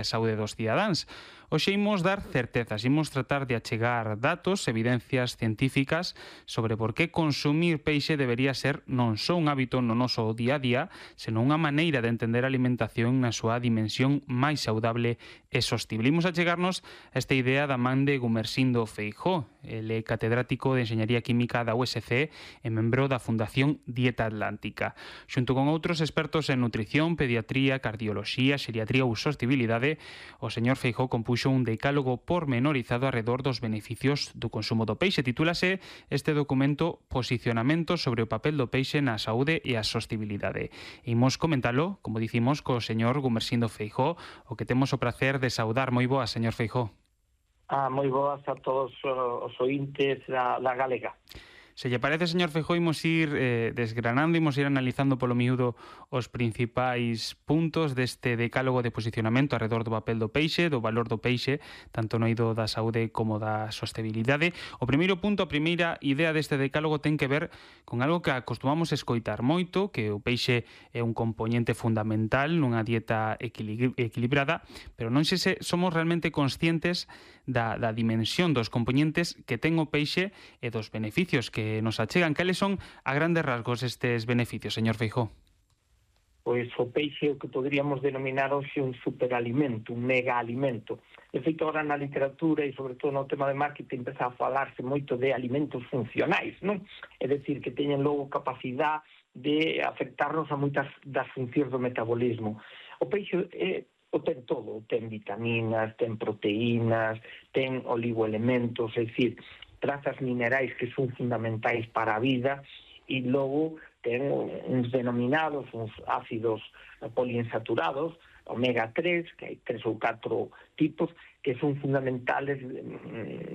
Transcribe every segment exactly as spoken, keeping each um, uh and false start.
a saúde dos cidadáns. Hoxe imos dar certezas, imos tratar de achegar datos, evidencias científicas sobre por que consumir peixe debería ser non só un hábito no noso día a día, senón unha maneira de entender a alimentación na súa dimensión máis saudable e sostible. Imos achegarnos a esta idea da man de Gumersindo Feijóo. Ele é catedrático de Enxeñaría Química da U S C e membro da Fundación Dieta Atlántica. Xunto con outros expertos en nutrición, pediatría, cardioloxía, xeriatría ou sostibilidade, o señor Feijóo compuxo un decálogo pormenorizado arredor dos beneficios do consumo do peixe. Titúlase este documento Posicionamento sobre o papel do peixe na saúde e a sostibilidade. Imos comentalo, como dicimos, co señor Gumersindo Feijóo, o que temos o prazer de saudar. Moi boa, señor Feijóo. Ah, moi boas a todos os ointes da, da Galega. Se lle parece, señor Feijóo, imos ir eh, desgranando, imos ir analizando polo miúdo os principais puntos deste decálogo de posicionamento arredor do papel do peixe, do valor do peixe, tanto no eido da saúde como da sostenibilidade. O primeiro punto, a primeira idea deste decálogo ten que ver con algo que acostumamos escoitar moito, que o peixe é un componente fundamental nunha dieta equilibrada, pero non sei se somos realmente conscientes da, da dimensión dos componentes que ten o peixe e dos beneficios que nos achegan. Cales son a grandes rasgos estes beneficios, señor Feijóo? Pois o peixe é o que poderíamos denominar hoxe un superalimento, un megaalimento. De feito, agora na literatura e sobre todo no tema de marketing empeza a falarse moito de alimentos funcionais, non? É dicir, que teñen logo capacidade de afectarnos a moitas das funcións do metabolismo. O peixe é o ten todo, ten vitaminas, ten proteínas, ten oligoelementos, é dicir, trazas minerais que son fundamentais para a vida, e logo ten uns denominados, uns ácidos poliinsaturados, omega tres, que hai tres ou catro tipos, que son fundamentales,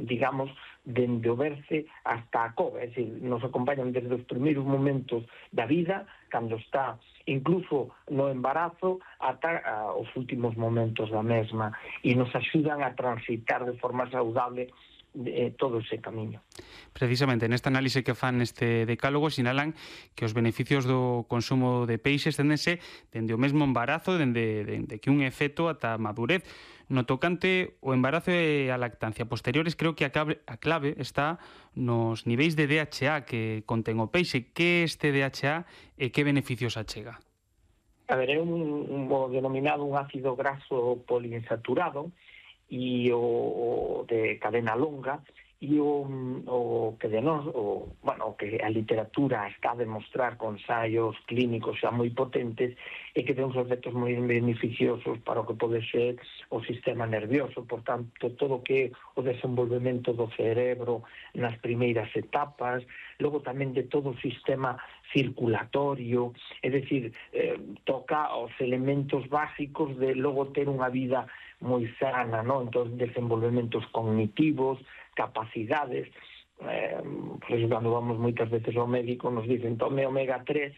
digamos, dende o berce hasta a cova, é dicir, nos acompañan desde os primeiros momentos da vida, cando está incluso no embarazo, ata os últimos momentos da mesma, e nos axudan a transitar de forma saudable de todo ese camiño. Precisamente, nesta análise que fan neste decálogo sinalan que os beneficios do consumo de peixe esténdense dende o mesmo embarazo, dende, dende que un é feto ata a madurez. No tocante o embarazo e a lactancia posteriores, creo que a clave, a clave está nos niveis de D H A que contén o peixe. Que é este D H A e que beneficios achega? A ver, é un, un, un denominado un ácido graso poliinsaturado, e o, o de cadena longa, e o, o que de nós, o, bueno, o que a literatura está a demostrar con ensaios clínicos xa moi potentes, e que ten uns efectos moi beneficiosos para o que pode ser o sistema nervioso, por tanto, todo o que é o desenvolvemento do cerebro nas primeiras etapas, logo tamén de todo o sistema circulatorio, é dicir, eh, toca os elementos básicos de logo ter unha vida moi sana, non? Entón, desenvolvementos cognitivos, capacidades, eh, pois cando vamos moitas veces ao médico nos dicen tome omega tres,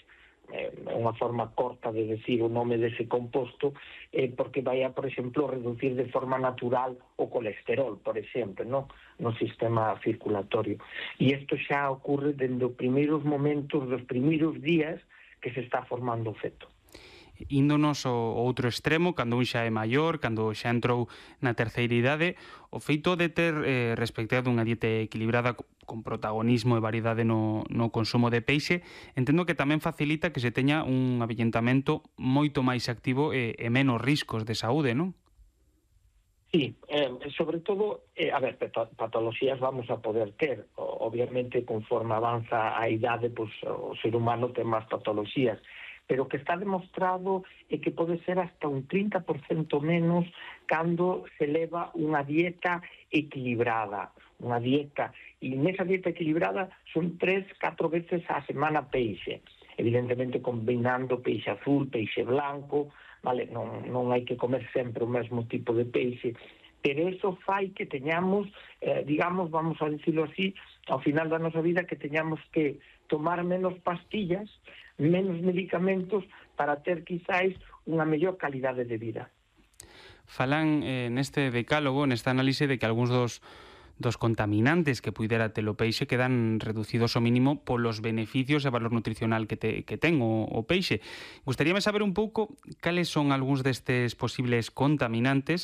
é eh, unha forma corta de decir o nome dese composto, eh, porque vai a, por exemplo, reducir de forma natural o colesterol, por exemplo, no, no sistema circulatorio. E isto xa ocorre dende os primeiros momentos, dos primeiros días que se está formando o feto. Índonos ao outro extremo, cando un xa é maior, cando xa entrou na terceira idade, o feito de ter eh, respectado unha dieta equilibrada con protagonismo e variedade no, no consumo de peixe, entendo que tamén facilita que se teña un avellentamento moito máis activo e, e menos riscos de saúde, non? Sí, eh, sobre todo, eh, a ver, patologías vamos a poder ter, obviamente conforme avanza a idade, pues, o ser humano ten máis patologías, pero o que está demostrado é que pode ser hasta un trinta por cento menos cando se leva unha dieta equilibrada, unha dieta, e nesa dieta equilibrada son tres, catro veces a semana peixe, evidentemente combinando peixe azul, peixe blanco, vale, non, non hai que comer sempre o mesmo tipo de peixe, pero eso fai que teñamos, eh, digamos, vamos a dicirlo así, ao final da nosa vida que teñamos que tomar menos pastillas, menos medicamentos para ter quizáis unha mellor calidade de vida. Falan eh, neste decálogo, nesta análise, de que algúns dos dos contaminantes que puidera ter o peixe quedan reducidos ao mínimo polos beneficios e valor nutricional que, te, que ten o, o peixe. Gustaríame saber un pouco cales son algúns destes posibles contaminantes